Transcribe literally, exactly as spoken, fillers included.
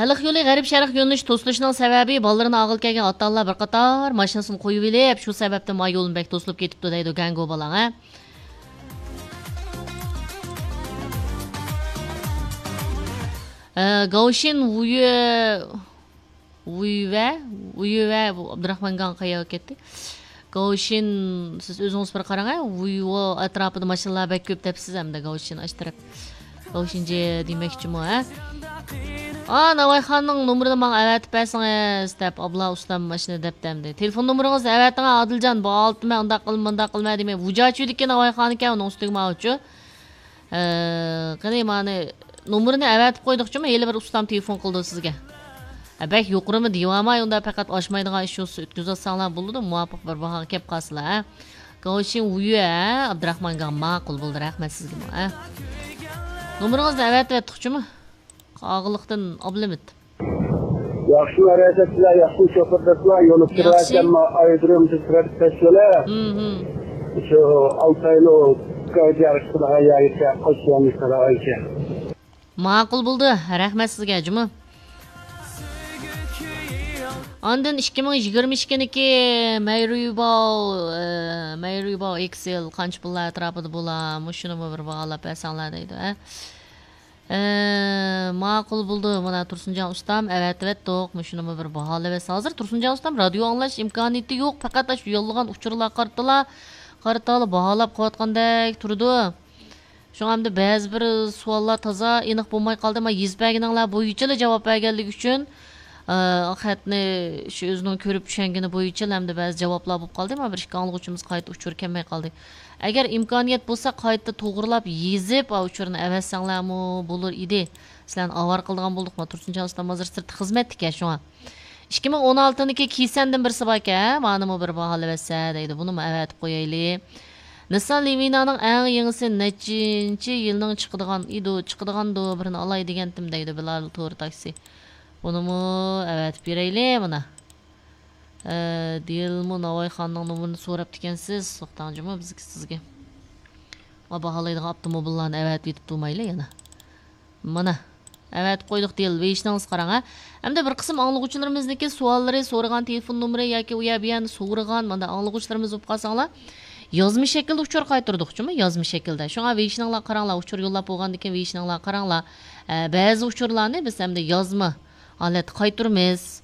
خەلق يولى غەرب شەرق يۆنىلىش توسۇلۇشىنىڭ سەۋەبى، بالىلىرىنى ئالغىلى كەلگەن ئاتا-ئانىلار بىر قاتار ماشىنىسىنى قويۇۋېلىپ، شۇ سەۋەبتىن ما يولمۇ بەك توسۇلۇپ كېتىپتۇ دەيدۇ گەڭگو بالاڭ، ھە. ئە، گاۋشىن ۋۇيۈ، ۋۇيۈۋە، ۋۇيۈۋە، بۇ ئابدۇراخمان گاڭ قەيەرگە كەتتى؟ گاۋشىن، سىز ئۆزىڭىز بىر قاراڭ، ھە؟ ۋۇيۋو ئەتراپىدا ماشىنىلار بەك كۆپ دەپسىز ئەمدى، گاۋشىن ئاشۇ تەرەپ. گاۋشىنجې دېمەكچىمۇ، ھە؟ ئا، ناۋايخاننىڭ نومۇرىنى ماڭا ئەۋەتىپ بەرسىڭىز، دەپ ئابلا ئۇستام ماشىنا دەپتۇ ئەمدى. تېلېفون نومۇرىڭىزنى ئەۋەتىڭ، ئادىلجان، بۇ ئالتە مەن ئۇنداق قىلما، مۇنداق قىلما دېمەي. ۋۇجاچۈدىكى ناۋايخانىكەن، ئۇنىڭ ئۈستىگە ماۋۇچۇ. ئە، قېنى، مانى نومۇرىنى ئەۋەتىپ قويدۇقچۇمۇ؟ ھېلى بىر ئۇستام تېلېفون قىلىدۇ سىزگە. ئە، بەك يۇقىرىمۇ دېيىۋالماي، ئۇنداق پەقەت ئاشمايدىغان ئىش بولسا ئۆتكۈزۈۋاتساڭلار بولىدۇ، مۇۋاپىق بىر باھاغا كەپ قالسىلا، ھە. گاۋشىن ۋۇيۈ، ھە، ئابدۇراخمان گاڭ ماقۇل بولدى، رەھمەت سىزگىمۇ، ھە. نومۇرىڭىزنى ئەۋەتىۋەتتۇقچۇمۇ؟ قاغىلىقتىن ئابلىمىت. ياخشىمۇ، ھەرەكەتچىلەر، ياخشىمۇ، شوپۇر دوستلار، يولۇپ ياخشى. كىرىۋاتساممۇ، ئايرودروم تىز ترافىك پەسىلى. ھىم، ھىم. شۇ ئالتاينىڭ كاۋجيار چىقىدىغان يەرگىچە قوشۇۋالمىش قاراغانچە. ماقۇل بولدى. رەھمەت سىزگە، جۇمۇ. ئاندىن ئىككى مىڭ يىگىرمە ئىككىنىڭكى مەيرىباۋ، ئە، مەيرىباۋ ئېكسېل قانچە پۇللار ئەتراپىدا بولا؟ مۇشۇنىمۇ بىر باھالاپ بەرسەڭلار دەيدۇ، ھە. ئە، ماقۇل بولدى. مانا تۇرسۇنجان ئۇستام ئەۋەتىۋەتتۇق. مۇشۇنىمۇ بىر باھالىۋەتسە. ھازىر تۇرسۇنجان ئۇستام رادىيو ئاڭلاش ئىمكانىيىتى يوق. پەقەت ئاشۇ يوللىغان ئۇچۇرلارغا قارىتىلا، قارىتالا باھالاپ قويۇۋاتقاندەك تۇرىدۇ. شۇڭا ئەمدى بەزى بىر سوئاللار تازا ئېنىق بولماي قالدى. مانا يېزىپ بەرگىنىڭلار بويىچىلا جاۋاب بەرگەنلىكى ئۈچۈن، ئە، خەتنى شۇ ئۆزىنىڭ كۆرۈپ چۈشەنگىنى بويىچىلا ئەمدى بەزى جاۋابلار بولۇپ قالدى. مانا بىر ئىككى ئاڭلىغۇچىمىز قايتا ئۇچۇر كەلمەي قالدى. ئەگەر ئىمكانىيەت بولسا، قايتا توغرىلاپ يېزىپ، ئا، ئۇچۇرنى ئەۋەتسەڭلارمۇ بولۇر ئىدى. سىلەرنى ئاۋارە قىلىدىغان بولدۇق. ما تۇرسۇنجان ئۇستام ھازىر سىرتتا خىزمەتتىكەن شۇڭا. ئىككى مىڭ ئون ئالتىنىڭكى كىسەندىن بىرسى باركەن، ھە؟ مانىمۇ بىر باھالىۋەتسە دەيدۇ. بۇنىمۇ ئەۋەتىپ قويايلى. نىسسان لىۋىنانىڭ ئەڭ يېڭىسى نەچچىنچى يىلنىڭ چىقىدىغان ئىدۇ، چىقىدىغاندۇ، بىرنى ئالاي دېگەنتىم دەيدۇ بىلال تور تاكسى. بۇنىمۇ ئەۋەتىپ بېرەيلى مانا. ئە، دىلمۇ ناۋايخاننىڭ نومۇرىنى سوراپتىكەنسىز، توختاڭ جۇمۇ، بىزگە سىزگە. ما باھالايدىغان ئاپتوموبىللارنى ئەۋەتىۋېتىپ تۇرمايلى يەنە. مانا، ئەۋەتىپ قويدۇق دىل، ۋېيشنىڭىز قاراڭ، ھە. ئەمدى بىر قىسىم ئاڭلىغۇچىلىرىمىزنىڭكى سوئاللىرى، سورىغان تېلېفون نومۇرى ياكى ئۇ يەر بۇ يەرنى سورىغان، مانا ئاڭلىغۇچىلىرىمىز بولۇپ قالساڭلار، يازما شەكىلدە ئۇچۇر قايتۇردۇقچۇمۇ، يازما شەكىلدە. شۇڭا ۋېيشنىڭلار قاراڭلار، ئۇچۇر يوللاپ بولغاندىن كېيىن ۋېيشنىڭلار قاراڭلار. ئە، بەزى ئۇچۇرلارنى بىز ئەمدى يازما ھالەتتە قايتۇرىمىز.